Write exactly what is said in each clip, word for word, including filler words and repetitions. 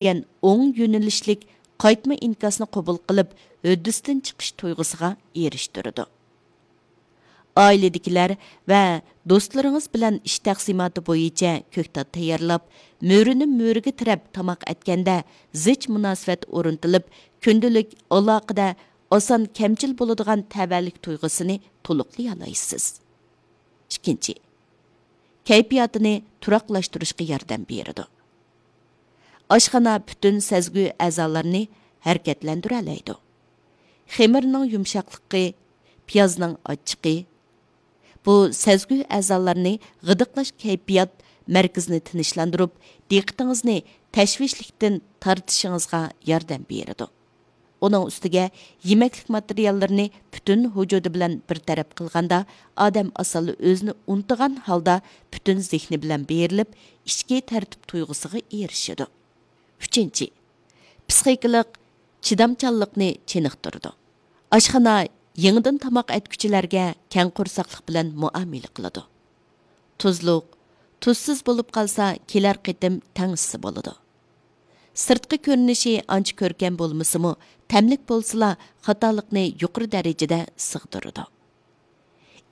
دېگەن ئوڭ يۆنىلىشلىك قايتما ئىنكاسنى قوبۇل قىلىپ، ھۆددىسىدىن چىقىش تۇيغۇسىغا ئېرىشتۈرىدۇ. ئائىلىدىكىلەر ۋە دوستلىرىڭىز بىلەن ئىش تەقسىماتى بويىچە كۆكتات تەييارلاپ، مۈرىنى مۈرىگە تىرەپ تاماق ئەتكەندە زىچ مۇناسىۋەت ئورنىتىلىپ، كۈندىلىك ئالاقىدە ئاسان كەمچىل بولىدىغان تەۋەلىك تۇيغۇسىنى تولۇقلىيالايسىز. ئىككىنچى، كەيپىياتىنى تۇراقلاشتۇرۇشقا ياردەم بېرىدۇ. ئاشخانا پۈتۈن سەزگۈ ئەزالىرىنى ھەرىكەتلەندۈرەلەيدۇ. خېمىرنىڭ يۇمشاقلىقى، پىيازنىڭ ئاچچىقى، بۇ سەزگۈ ئەزالارنى غىدىقلاش كەيپىيات مەركىزىنى تىنچلاندۇرۇپ، دىققىتىڭىزنى تەشۋىشلىكتىن تارتىشىڭىزغا ياردەم بېرىدۇ. ئۇنىڭ ئۈستىگە يېمەكلىك ماتېرىياللىرىنى پۈتۈن ۋۇجۇدى بىلەن بىر تەرەپ قىلغاندا، ئادەم ئاسانلا ئۆزىنى ئۇنتۇغان ھالدا پۈتۈن زېھنى بىلەن بېرىلىپ، ئىچكى تەرتىپ تۇيغۇسىغا ئېرىشىدۇ. ئۈچىنچى، پىسخىكىلىق چىدامچانلىقنى چېنىقتۇرىدۇ. ئاشخانا يېڭىدىن تاماق ئەتكۈچىلەرگە كەڭ قورساقلىق بىلەن مۇئامىلە قىلىدۇ. تۇزلۇق، تۇزسىز بولۇپ قالسا، كېلەر قېتىم تەڭشىسە بولىدۇ. سىرتقى كۆرۈنۈشى ئانچە كۆركەم بولمىسىمۇ، تەملىك بولسىلا، خاتالىقنى يۇقىرى دەرىجىدە سىغدۇرىدۇ.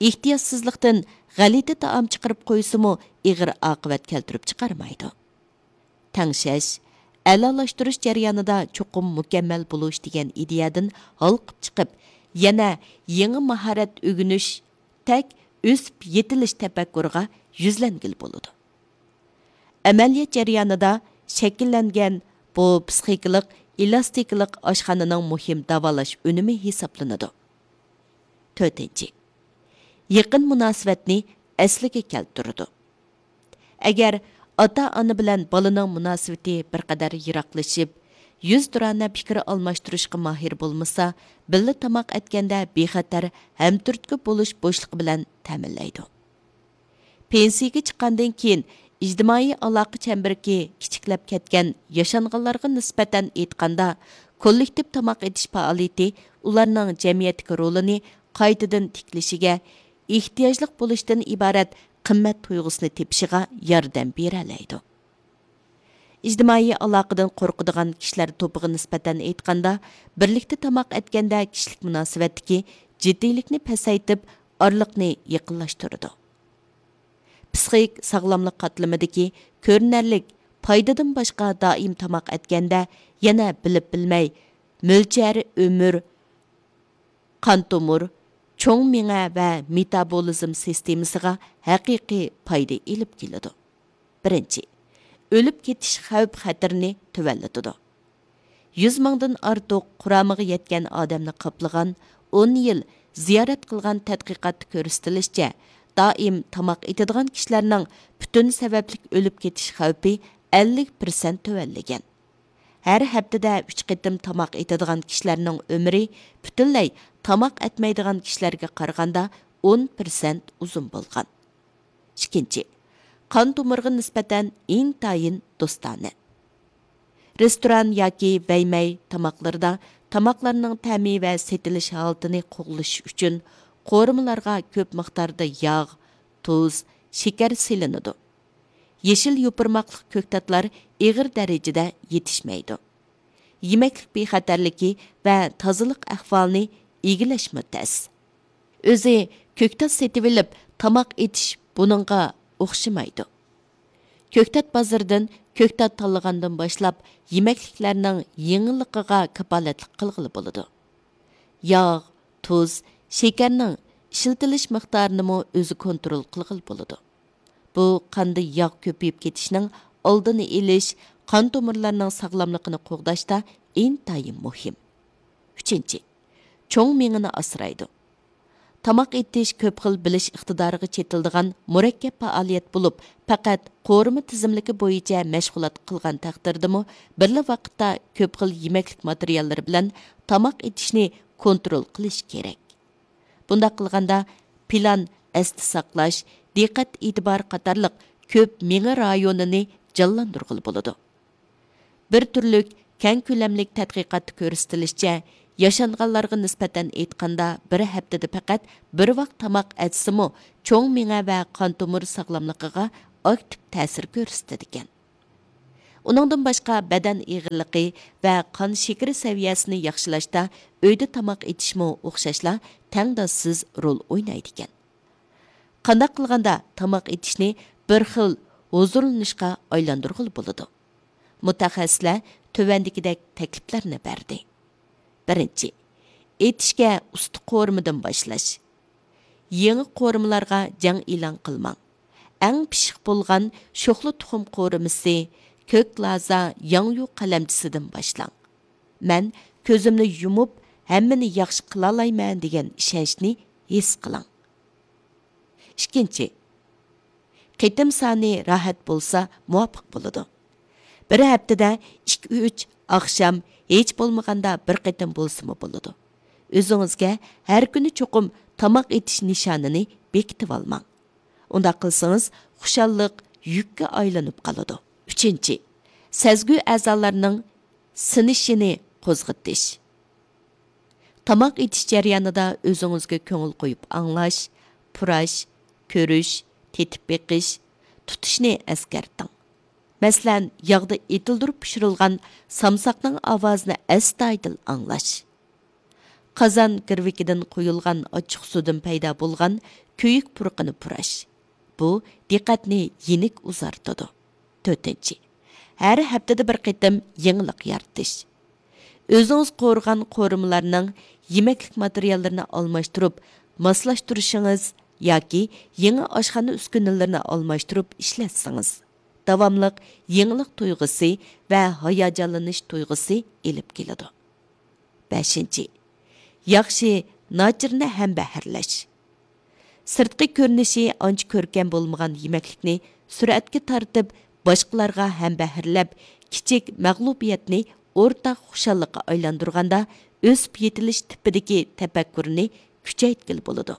ئېھتىياتسىزلىقتىن غەلىتە تائام چىقىرىپ قويسىمۇ، ئېغىر ئاقىۋەت كەلتۈرۈپ چىقارمايدۇ. تەڭشەش، ئەلالاشتۇرۇش جەريانىدا چوقۇم مۇكەممەل بولۇش دېگەن ئىدىيەدىن ھالقىپ چىقىپ، يەنە يېڭى ماھارەت ئۆگىنىش، تەك ئۆسۈپ يېتىلىش تەپەككۇرىغا يۈزلەنگىلى بولىدۇ. ئەمەلىيەت جەريانىدا شەكىللەنگەن بۇ پىسخىكىلىق ئېلاستىكىلىق ئاشخانىنىڭ مۇھىم داۋالاش ئۈنۈمى ھېسابلىنىدۇ. تۆتىنچى، يېقىن مۇناسىۋەتنى ئەسلىگە كەلتۈرىدۇ. ئەگەر ئاتا-ئانا بىلەن بالىنىڭ مۇناسىۋىتى بىر قەدەر يىراقلىشىپ، يۈزتۇرانە پىكىر ئالماشتۇرۇشقا ماھىر بولمىسا، بىللە تاماق ئەتكەندە بىخەتەر ھەمتۈرتكە بولۇش بوشلۇقى بىلەن تەمىنلەيدۇ. پېنسىيىگە چىققاندىن كېيىن ئىجتىمائىي ئالاقە چەمبىرىكى كىچىكلەپ كەتكەن ياشانغانلارغا نىسبەتەن ئېيتقاندا، كوللېكتىپ تاماق ئېتىش پائالىيىتى ئۇلارنىڭ جەمئىيەتتىكى رولىنى قايتىدىن تىكلىشىگە، ئېھتىياجلىق بولۇشتىن ئىبارەت قىممەت تۇيغۇسىنى تېپىشىغا ياردەم بېرەلەيدۇ. ئىجتىمائىي ئالاقىدىن قورقىدىغان كىشىلەر توپىغا نىسبەتەن ئېيتقاندا، بىرلىكتە تاماق ئەتكەندە كىشىلىك مۇناسىۋەتتىكى جىددىيلىكنى پەسەيتىپ، ئارىلىقنى يېقىنلاشتۇرىدۇ. پىسخىك ساغلاملىق قاتلىمىدىكى كۆرۈنەرلىك پايدىدىن باشقا، دائىم تاماق ئەتكەندە يەنە بىلىپ بىلمەي مۆلچەر ئۆمۈر، قان تومۇر، چوڭ مېڭە ۋە مېتابولىزم سىستېمىسىغا ھەقىقىي پايدا ئېلىپ كېلىدۇ. بىرىنچى، ئۆلۈپ كېتىش خەۋپ خەتىرىنى تۆۋەنلىتىدۇ. يۈز مىڭدىن ئارتۇق قۇرامىغا يەتكەن ئادەمنى قاپلىغان، ئون يىل زىيارەت قىلغان تەتقىقاتتا كۆرسىتىلىشىچە، دائىم تاماق ئېتىدىغان كىشىلەرنىڭ پۈتۈن سەۋەبلىك ئۆلۈپ كېتىش خەۋپى ئەللىك پىرسەنت تۆۋەنلىگەن. ھەر ھەپتىدە ئۈچ قېتىم تاماق ئېتىدىغان كىشىلەرنىڭ ئۆمرى پۈتۈنلەي تاماق ئەتمەيدىغان كىشىلەرگە قارىغاندا ئون پىرسەنت ئۇزۇن بولغان. ئىككىنچى، قان تومۇرىغا نىسبەتەن ئىنتايىن دوستانە. رېستوران ياكى بەيمەي تاماقلىرىدا تاماقلارنىڭ تەمى ۋە سېتىلىش ھالىتىنى قوغلىشىش ئۈچۈن قورۇمىلارغا كۆپ مىقداردا ياغ، تۇز، شېكەر سېلىنىدۇ. يېشىل يوپۇرماقلىق كۆكتاتلار ئېغىر دەرىجىدە يېتىشمەيدۇ. يېمەكلىك بىخەتەرلىكى ۋە تازىلىق ئەھۋالىنى ئىگىلەشمۇ تەس. ئۆزى كۆكتات سېتىۋېلىپ تاماق ئېتىش بۇنىڭغا ئوخشىمايدۇ. كۆكتات بازىرىدىن كۆكتات تاللىغاندىن باشلاپ، يېمەكلىكلەرنىڭ يېڭىلىقىغا كاپالەتلىك قىلغىلى بولىدۇ. ياغ، تۇز، شېكەرنىڭ ئىشلىتىلىش مىقدارىنىمۇ ئۆزى كونترول قىلغىلى بولىدۇ. بۇ قاندا ياغ كۆپىيىپ كېتىشنىڭ ئالدىنى ئېلىش، قان تومۇرلارنىڭ ساغلاملىقىنى قوغداشتا ئىنتايىن مۇھىم. ئۈچىنچى، چوڭ مېڭىنى ئاسرايدۇ. تاماق ئېتىش كۆپ خىل بىلىش ئىقتىدارىغا چېتىلىدىغان مۇرەككەپ پائالىيەت بولۇپ، پەقەت قورۇما تىزىملىكى بويىچە مەشغۇلات قىلغان تەقدىردىمۇ، بىرلا ۋاقىتتا كۆپ خىل يېمەكلىك ماتېرىياللىرى بىلەن تاماق ئېتىشنى كونترول قىلىش كېرەك. بۇنداق قىلغاندا، پىلان، ئەستە ساقلاش، دىققەت ئېتىبار قاتارلىق كۆپ مېڭە رايونىنى جانلاندۇرغىلى بولىدۇ. بىر تۈرلۈك كەڭ كۆلەملىك تەتقىقاتتا كۆرسىتىلىشىچە، ياشانغانلارغا نىسبەتەن ئېيتقاندا، بىر ھەپتىدە پەقەت بىر ۋاق تاماق ئەتسىمۇ، چوڭ مېڭە ۋە قان تومۇر ساغلاملىقىغا ئاكتىپ تەسىر كۆرسىتىدىكەن. ئۇنىڭدىن باشقا، بەدەن ئېغىرلىقى ۋە قان شېكىرى سەۋىيەسىنى ياخشىلاشتا ئۆيدە تاماق ئېتىشمۇ ئوخشاشلا تەڭداشسىز رول ئوينايدىكەن. قانداق قىلغاندا تاماق ئېتىشنى بىر خىل ھۇزۇرلىنىشقا ئايلاندۇرغىلى بولىدۇ؟ مۇتەخەسسىسلەر تۆۋەندىكىدەك تەكلىپلەرنى بەردى. بىرىنچى، ئېتىشكە ئۇستا قورۇمىدىن باشلاش. يېڭى قورۇمىلارغا جەڭ ئېلان قىلماڭ. ئەڭ پىششىق بولغان شوخلا تۇخۇم قورۇمىسى، كۆك لازا ياڭيۇ قەلەمچىسىدىن باشلاڭ. مەن كۆزۈمنى يۇمۇپ، ھەممىنى ياخشى قىلالايمەن دېگەن ئىشەنچنى ھېس قىلىڭ. ئىككىنچى، قېتىم سانى راھەت بولسا مۇۋاپىق بولىدۇ. بىر ھەپتىدە ئىككى، ئۈچ ئاخشام، ھېچ بولمىغاندا بىر قېتىم بولسىمۇ بولىدۇ. ئۆزىڭىزگە ھەر كۈنى چوقۇم تاماق ئېتىش نىشانىنى بېكىتىۋالماڭ. ئۇنداق قىلسىڭىز، خۇشاللىق يۈككە ئايلىنىپ قالىدۇ. ئۈچىنچى، سەزگۈ ئەزالارنىڭ سىنىشىنى قوزغىتىش. تاماق ئېتىش جەريانىدا ئۆزىڭىزگە كۆڭۈل قويۇپ ئاڭلاش، پۇراش، كۆرۈش، تېتىپ بېقىش، تۇتۇشنى ئەسكەرتىڭ. مەسىلەن، ياغدا ئېتىلدۈرۈپ پىشۇرۇلغان سامساقنىڭ ئاۋازىنى ئەستايىدىل ئاڭلاش. قازان گىرۋىكىدىن قۇيۇلغان ئاچچىقسۇدىن پەيدا بولغان كۆيۈك پۇرىقىنى پۇراش. بۇ دىققەتنى يېنىك ئۇزارتىدۇ. تۆتىنچى، ھەر ھەپتىدە بىر قېتىم يېڭىلىق يارىتىش. ئۆزىڭىز قورۇغان قورۇمىلارنىڭ يېمەكلىك ماتېرىياللىرىنى ئالماشتۇرۇپ ماسلاشتۇرۇشىڭىز ياكى يېڭى ئاشخانا ئۈسكۈنىلىرىنى ئالماشتۇرۇپ ئىشلەتسىڭىز، داۋاملىق يېڭىلىق تۇيغۇسى ۋە ھاياجانلىنىش تۇيغۇسى ئېلىپ كېلىدۇ. بەشىنچى، ياخشى، ناچىرىنى ھەمبەھىرلەش. سىرتقى كۆرۈنۈشى ئانچە كۆركەم بولمىغان يېمەكلىكنى سۈرئەتكە تارتىپ، باشقىلارغا ھەمبەھىرلەپ، كىچىك مەغلۇبىيەتنى ئورتاق خۇشاللىققا ئايلاندۇرغاندا، ئۆسۈپ يېتىلىش تىپىدىكى تەپەككۇرنى كۈچەيتكىلى بولىدۇ.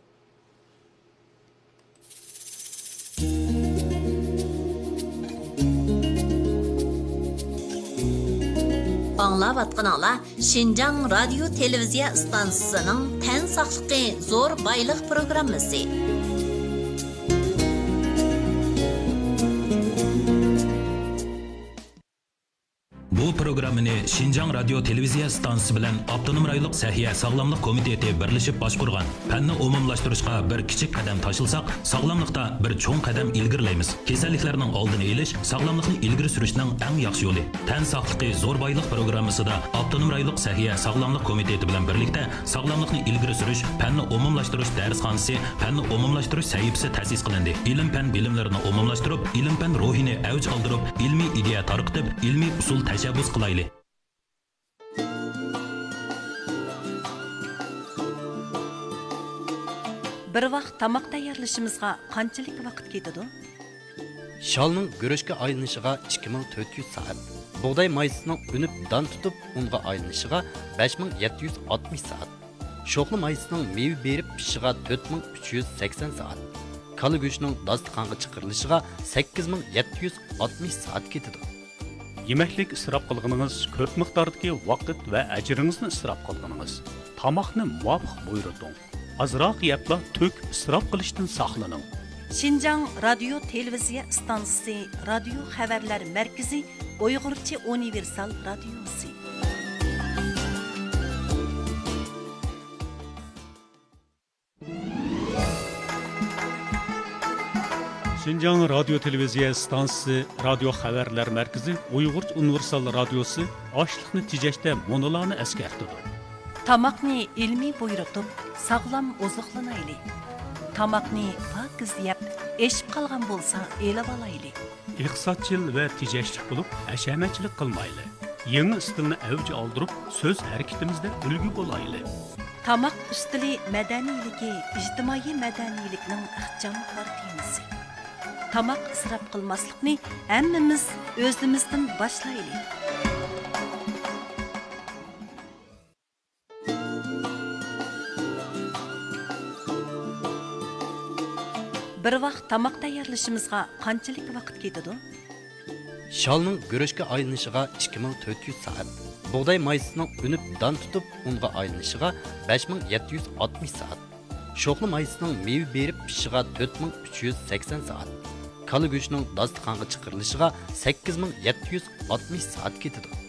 ئاڭلاۋاتقىنىڭلار شىنجاڭ رادىيو تېلېۋىزىيە ئىستانسىسىنىڭ تەن ساقلىقى زور بايلىق پروگراممىسى. بۇ پروگراممىنى شىنجاڭ رادىيو تېلېۋىزىيە ئىستانسىسى بىلەن ئاپتونوم رايونلۇق سەھىيە ساغلاملىق كومىتېتى بىرلىشىپ باشقۇرغان. پەننى ئومۇملاشتۇرۇشقا بىر كىچىك قەدەم تاشلىساق، ساغلاملىقتا بىر چوڭ قەدەم ئىلگىرىلەيمىز. كېسەللىكلەرنىڭ ئالدىنى ئېلىش، ساغلاملىقنى ئىلگىرى سۈرۈشنىڭ ئەڭ ياخشى يولى. تەن ساقلىقى زور بايلىق پروگراممىسىدا ئاپتونوم رايونلۇق سەھىيە ساغلاملىق كومىتېتى بىلەن بىرلىكتە ساغلاملىقنى ئىلگىرى سۈرۈش، پەننى ئومۇملاشتۇرۇش دەرسخانىسى، پەننى ئومۇملاشتۇرۇش سەھىپىسى تەسىس قىلىندى. ئىلىم-پەن بىلىملىرىنى ئومۇملاشتۇرۇپ، ئىلىم-پەن روھىنى ئەۋج ئالدۇرۇپ، ئىلمىي ئىدىيە تارقىتىپ، ئىلمىي ئۇسۇل تەشەببۇس قىلايلى. بىر ۋاق تاماق تەييارلىشىمىزغا قانچىلىك ۋاقىت كېتىدۇ؟ شالنىڭ گۈرۈچكە ئايلىنىشىغا ئىككى مىڭ تۆت يۈز سائەت، بۇغداي مايسىسىنىڭ ئۈنۈپ دان تۇتۇپ ئۇنغا ئايلىنىشىغا بەش مىڭ يەتتە يۈز ئاتمىش سائەت، شوخلا مايسىسىنىڭ مېۋە بېرىپ پىشىشىغا تۆت مىڭ ئۈچ يۈز سەكسەن سائەت، كالا گۆشىنىڭ داستىخانغا چىقىرىلىشىغا سەككىز مىڭ يەتتە يۈز ئاتمىش سائەت كېتىدۇ. يېمەكلىك ئىسراپ قىلغىنىڭىز كۆپ مىقداردىكى ۋاقىت ۋە ئەجرىڭىزنى ئىسراپ قىلغىنىڭىز. تاماقنى مۇۋاپىق بۇيرۇتۇڭ. ئازراق يەپلا تۆك، ئىسراپ قىلىشتىن ساقلىنىڭ. شىنجاڭ رادىيو تېلېۋىزىيە ئىستانسىسى، رادىيو خەۋەرلەر مەركىزى، ئۇيغۇرچە ئۇنىۋېرسال رادىيوسى. شىنجاڭ رادىيو تېلېۋىزىيە ئىستانسىسى، رادىيو خەۋەرلەر مەركىزى، ئۇيغۇرچە ئۇنىۋېرسال رادىيوسى ئاشلىقنى تېجەشتە مۇنۇلارنى ئەسكەرتىدۇ. تاماقنى ئىلمىي بۇيرۇتۇپ، ساغلام ئوزۇقلىنايلى. تاماقنى پاكىز يەپ، ئېشىپ قالغان بولسا ئېلىۋالايلى. ئىقتىسادچىل ۋە تېجەشلىك بولۇپ، ھەشەمەتچىلىك قىلمايلى. يېڭى ئىستىلنى ئەۋج ئالدۇرۇپ، سۆز ھەرىكىتىمىزدە ئۈلگە بولايلى. تاماق ئۈستىلى مەدەنىيلىكى ئىجتىمائىي مەدەنىيلىكنىڭ ئىخچام كارتىنىسى. تاماق ئىسراپ قىلماسلىقنى ھەممىمىز ئۆزىمىزدىن باشلايلى. بىر ۋاق تاماق تەييارلىشىمىزغا قانچىلىك ۋاقىت كېتىدۇ؟ شالنىڭ گۈرۈچكە ئايلىنىشىغا ئىككى مىڭ تۆت يۈز سائەت، بۇغداي مايسىسىنىڭ ئۈنۈپ دان تۇتۇپ ئۇنغا ئايلىنىشىغا بەش مىڭ يەتتە يۈز ئاتمىش سائەت، شوخلا مايسىسىنىڭ مېۋە بېرىپ پىشىشىغا تۆت مىڭ ئۈچ يۈز سەكسەن سائەت، كالا گۆشىنىڭ داستىخانغا چىقىرىلىشىغا سەككىز مىڭ يەتتە يۈز ئاتمىش سائەت كېتىدۇ.